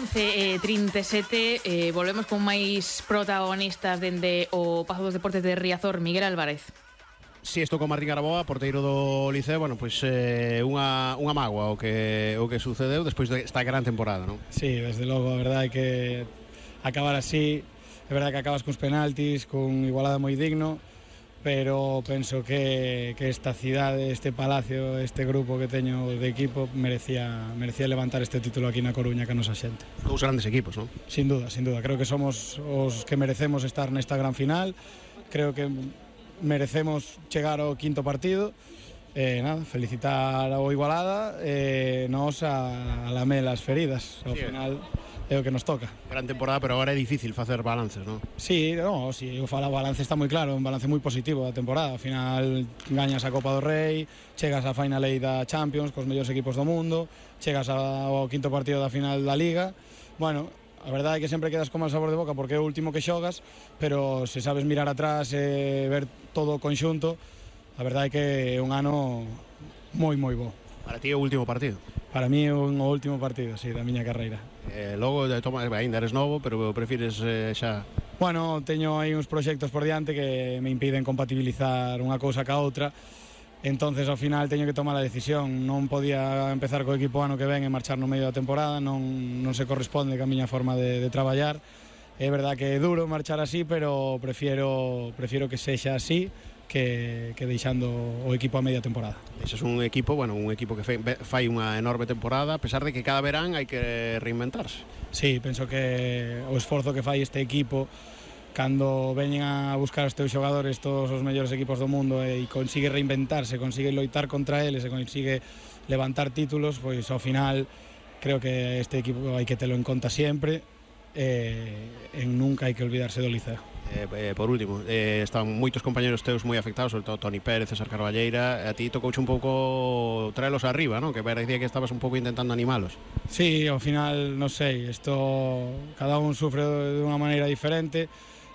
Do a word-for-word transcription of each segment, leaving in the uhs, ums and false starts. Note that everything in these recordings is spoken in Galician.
once e trinta e sete, eh, volvemos con máis protagonistas dende o Pazo dos Deportes de Riazor. Miguel Álvarez. Si, estou con Martín Araboa, porteiro do Liceo. Bueno, pois eh, unha, unha mágoa o que, o que sucedeu despois desta gran temporada, non? Sí, desde logo, a verdade é que acabar así, é verdade que acabas cuns penaltis, cun igualada moi digno, pero penso que, que esta cidade, este palacio, este grupo que teño de equipo merecía, merecía levantar este título aquí na Coruña que a nosa xente. Dous grandes equipos, non? Sin duda, sin duda, creo que somos os que merecemos estar nesta gran final, creo que merecemos chegar ao quinto partido. Eh, nada, felicitar ao Igualada e eh, nos a, a lamer as feridas ao sí, final é o que nos toca. Gran temporada, pero agora é difícil facer balances, non? Sí, no, si eu falo, o balance está moi claro, un balance moi positivo da temporada. Ao final gañas a Copa do Rei, chegas á Final Eight da Champions cos mellores equipos do mundo, chegas ao quinto partido da final da Liga. Bueno, a verdade é que sempre quedas con mal sabor de boca porque é o último que xogas, pero se sabes mirar atrás e ver todo o conxunto, a verdade é que é un ano moi moi bo. Para ti é o último partido? Para mí é un último partido, sí, da miña carreira. Eh, logo, toma, ainda eres novo, pero prefires eh, xa... Bueno, teño aí uns proxectos por diante que me impiden compatibilizar unha cousa ca outra. Entonces, ao final, teño que tomar a decisión. Non podía empezar co equipo ano que ven e marchar no medio da temporada, non, non se corresponde ca miña forma de, de traballar. É verdad que é duro marchar así, pero prefiero, prefiero que sexa así que, que deixando o equipo a media temporada. Ese é un equipo, bueno, un equipo que fai unha enorme temporada, a pesar de que cada verán hai que reinventarse. Sí, penso que o esforzo que fai este equipo cando veñen a buscar os teus xogadores todos os mellores equipos do mundo e consigue reinventarse, consigue loitar contra eles e consigue levantar títulos, pois ao final creo que este equipo hai que telo en conta sempre e, e nunca hai que olvidarse do Liceo. Eh, eh, por último, eh, están moitos compañeros teus moi afectados, sobre todo Toni Pérez, César Carballeira. A ti tocouche un pouco traelos arriba, non? Que parecía que estabas un pouco intentando animalos. Sí, ao final, non sei, isto cada un sufre de unha maneira diferente.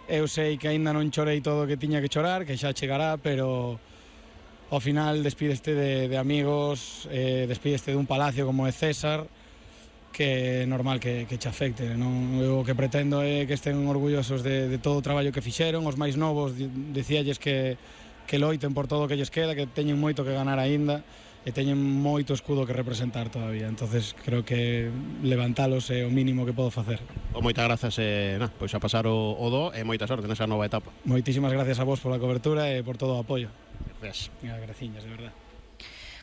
Eu sei que aínda non chorei todo o que tiña que chorar, que xa chegará, pero ao final despídeste de, de amigos, eh, despídeste dun palacio como é César, que é normal que, que che afecte, non? Eu o que pretendo é que estén orgullosos de, de todo o traballo que fixeron. Os máis novos dicíalles que, que loiten por todo o que lles queda, que teñen moito que ganar aínda e teñen moito escudo que representar todavía. Entonces creo que levantalos é o mínimo que podo facer. O moitas grazas, eh, na, pois a pasar o, o do e moita sorte nesa nova etapa. Moitísimas gracias a vos pola cobertura e por todo o apoio. Gracias. Graciñas, de verdad.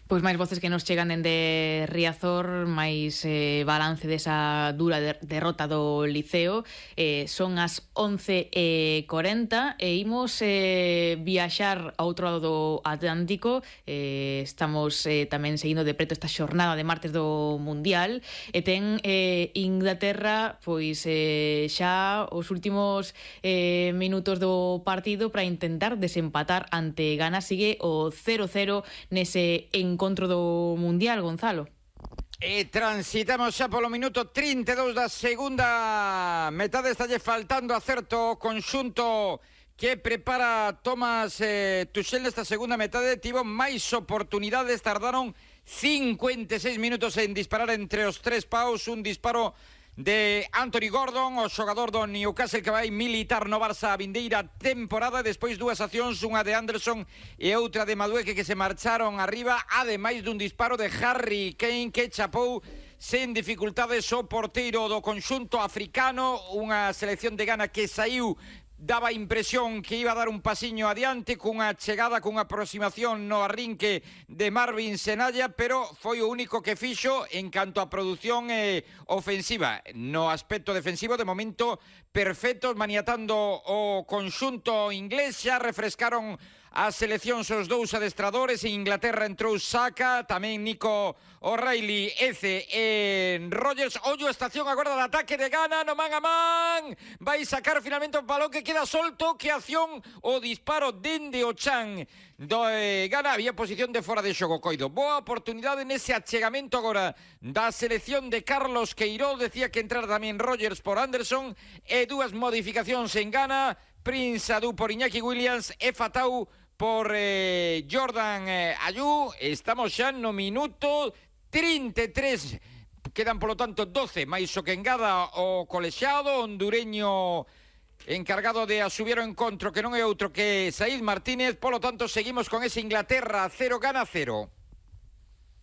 Pois máis voces que nos chegan dende Riazor, máis eh, balance desa dura de, derrota do Liceo. eh, Son as once e cuarenta e imos eh, viaxar a outro lado do Atlántico. eh, Estamos eh, tamén seguindo de preto esta xornada de martes do Mundial. E ten eh, Inglaterra pois eh, xa os últimos eh, minutos do partido para intentar desempatar ante Ghana. Sigue o cero cero nese encontro encontro do Mundial, Gonzalo. E transitamos xa polo minuto trinta e dous da segunda metade. Estalle faltando acerto o conxunto que prepara Thomas eh, Tuchel nesta segunda metade. Tivo máis oportunidades, tardaron cincuenta e seis minutos en disparar entre os tres paus. Un disparo de Anthony Gordon, o xogador do Newcastle, que vai militar no Barça a vindeira temporada. Despois dúas accións, unha de Anderson e outra de Madueke, que se marcharon arriba, ademais dun disparo de Harry Kane que chapou sen dificultades o porteiro do conxunto africano. Unha selección de Ghana que saiu, daba impresión que iba a dar un pasiño adiante cunha chegada, cunha aproximación no arrinque de Marvin Senalla, pero foi o único que fixo en canto a produción eh, ofensiva. No aspecto defensivo, de momento, perfectos, maniatando o conxunto inglés. Xa refrescaron as seleccións os dous adestradores. En Inglaterra entrou Saka, tamén Nico O'Reilly, Eze e Rogers. Ollo, estación agora de ataque de Ghana, no man a man, vai sacar finalmente o balón que queda solto. Que acción, o disparo dende o chan do eh, Ghana. Había posición de fora de xogo, coido. Boa oportunidade nese achegamento agora da selección de Carlos Queiroz. Decía que entrar tamén Rogers por Anderson e dúas modificacións en Ghana. Prince Adu por Iñaki Williams e Fatau por eh, Jordan eh, Ayew. Estamos xa no minuto trinta e tres quedan polo tanto doce, máis o que engada o colexiado hondureño encargado de asubir o encontro, que non é outro que Saíd Martínez. Polo tanto, seguimos con ese Inglaterra cero, Ghana cero.